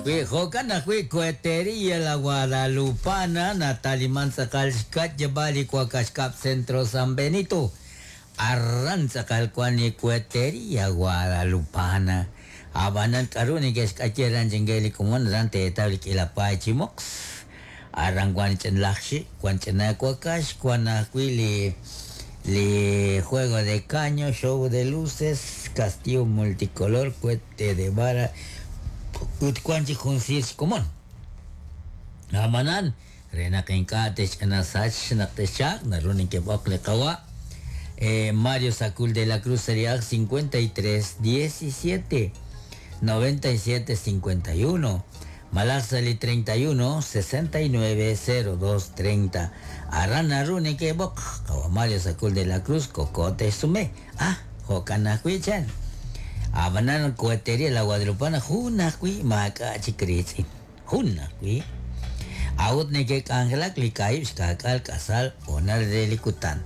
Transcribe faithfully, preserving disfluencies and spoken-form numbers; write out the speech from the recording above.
ajwi', jo'kan ajwi' Cohetería La Guadalupana, nataliman tz'aqal xka'yab'aal li Wakax Kab' Centro San Benito. Aran tz'aqal wan li Cohetería Guadalupana. Ab'anan k'aru neke'xk'ayi aran chinke li komon aran teetaw li k'iila paay chi moqs. Aran wan ch'inlaj xi', wan ch'ina wakax, wan ajwi' li li juego de caño, show de luces, castillo multicolor, cohete de vara, ut wan chik jun siir xkomon. Ab'anan, re naq ink'a' texch'ina sach naq texchaaq, naru nekeb'oq li qawa'. Eh, Mario Sacul de la Cruz Serie cincuenta y tres diecisiete noventa y siete cincuenta y uno malaj sa' li treinta y uno sesenta y nueve cero dos treinta. Aran naru nekeb'oq qawa' Mario Sacul de la Cruz koko texsume. Ah, jo'kan ajwi' chan. Ab'anan Cohetería La Guadalupana jun ajwi' maak'a' chik riitz'in. Jun ajwi'. A'ut neke'k'anjelak li kaahib' xka'k'aal k'asal honal re li kutan.